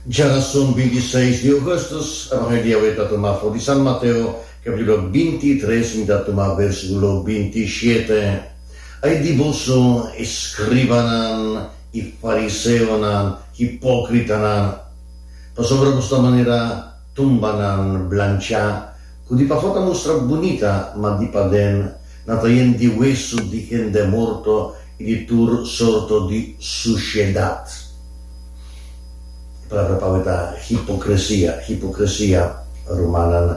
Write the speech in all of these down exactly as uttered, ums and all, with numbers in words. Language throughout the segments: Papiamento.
Djarason binti seis di ougùstùs, Evangelio awe ta tumá for di San Mateo, kapítulo binti i tres, mi ta tuma versíkulo binti i shete. Ai di boso, eskribanan i fariseonan, hipókritanan! Pasobra boso ta manera tumbanan blanchá, ku di pafó ta mustra bunita, ma di paden nan ta yen di wesu di hende morto i di tur sorto di sushedat. E palabra pa awe ta hipokresia, hipokresia, rumannan.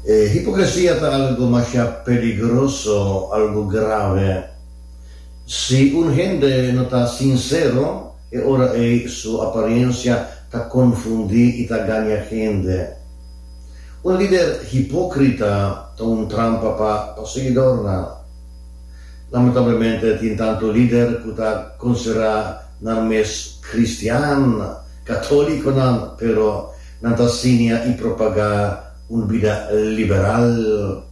E hipokresia ta algu masha peligroso, algu grave. Si un hende no ta sinsero, e ora ei su aparensia ta konfundí i ta gaña hende. Un lider hipókrita ta un trampa pa pa siguidornan. Lamentablemente tin tantu lider ku ta konsiderá nan mes kristian, katólikonan, pero nan ta siña i propagá un bida liberal,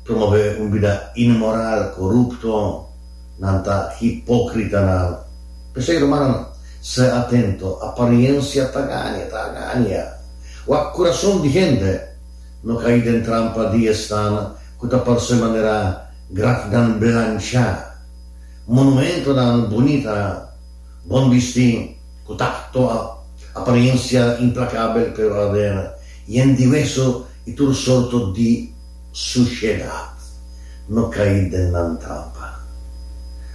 promové un bida inmoral, korupto. Nan ta hipókritanan. P'esei, rumannan, sea atento, apariensia ta gaña, ta gaña. Wak kurason di hende, no kai den trampa di esnan ku ta parse manera grafnan blanchá, monumentonan bunita, bon bistí, ku takto, apariensia implakabel pero aden yen di wesu i tur sorto di sushedat. No kai den nan trampa.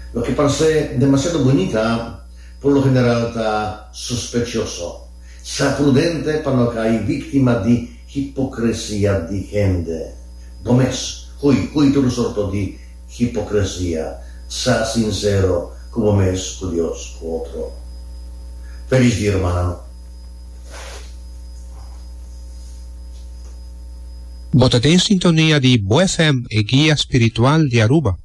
Loke parse demasiado bunita por lo general ta sospechoso. Sea prudente pa no kai víktima di hipokresia di hende. Bo mes, hui, hui tur sorto di hipokresia. Sea sinsero ku bo mes, ku Dios, ku otro. Felis dia, rumannan. Bo ta den sintonia di Bo F M, e guia spiritual di Aruba.